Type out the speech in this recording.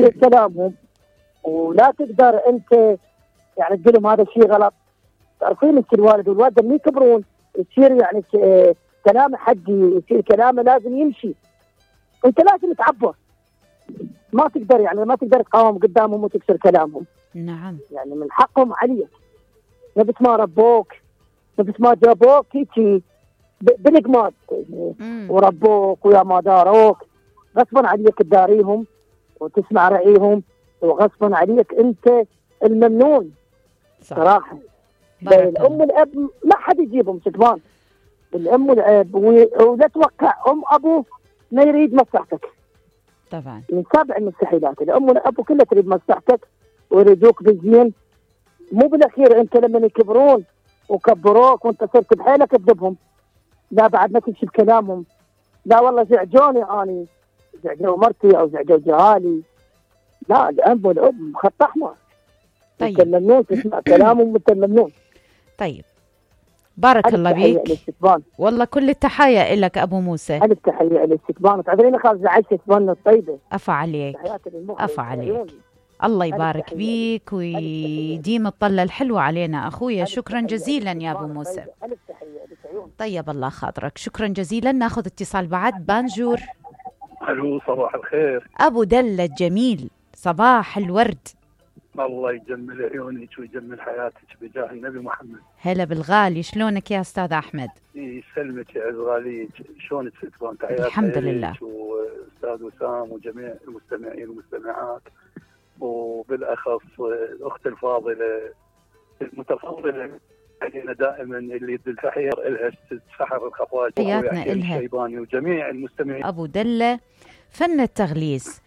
تكسر كلامهم، ولا تقدر انت يعني تقول لهم هذا الشيء غلط. تعرفين انت الوالد والوالده لما يكبرون يصير يعني كلامه حقي، يصير كلامه لازم يمشي، انت لازم تعبر، ما تقدر يعني ما تقدر تقاوم قدامهم وتكسر كلامهم. نعم. يعني من حقهم عليك، نفس ما ربوك، نفس ما جابوك هيك بالقماد وربوك ويا ما داروك، غصبا عليك تداريهم وتسمع رأيهم، وغصبا عليك انت الممنون. صح. صراحه الام والاب ما حد يجيبهم ستبان، الام والاب، ولا توقع ام ابو ما يريد مصلحتك طبعا، من سابع المستحيلات. الام والاب كلها تريد مصلحتك ويريدوك بالزين، مو بالاخير انت لما يكبرون وكبروك وانت صرت بحيلك تذبهم، لا بعد ما تمشي بكلامهم، لا والله زعجوني اني، زعجوا مرتي او زعجوا جهالي، لا الاب والاب خط احمر. طيب متمنون تسمع كلامهم، متمنون. طيب بارك الله بيك، والله كل التحايا لك ابو موسى. الف تحيه للاستقبال، تعذريني خالص زعلت استقبالنا الطيبه. عفا عليك، عفا عليك، الله يبارك بيك ويديم الطلة الحلوة علينا أخويا. شكرا جزيلا يا أبو موسى، طيب الله خاطرك، شكرا جزيلا. ناخذ اتصال بعد. بانجور. الو صباح الخير. أبو دلة الجميل، صباح الورد. الله يجمل عيونك ويجمل حياتك بجاه النبي محمد. هلا بالغالي، شلونك يا أستاذ أحمد؟ يسلمك يا غاليك، شلونك ستبان؟ تحياتي الحمد لله. وأستاذ وسام وجميع المستمعين والمستمعات، وبالأخص الأخت الفاضلة المتفضلة علينا دائما اللي يد الفحير إلها تسحر الخفاج، حياتنا إلها الشيباني وجميع المستمعين. أبو دلة فن التغليس.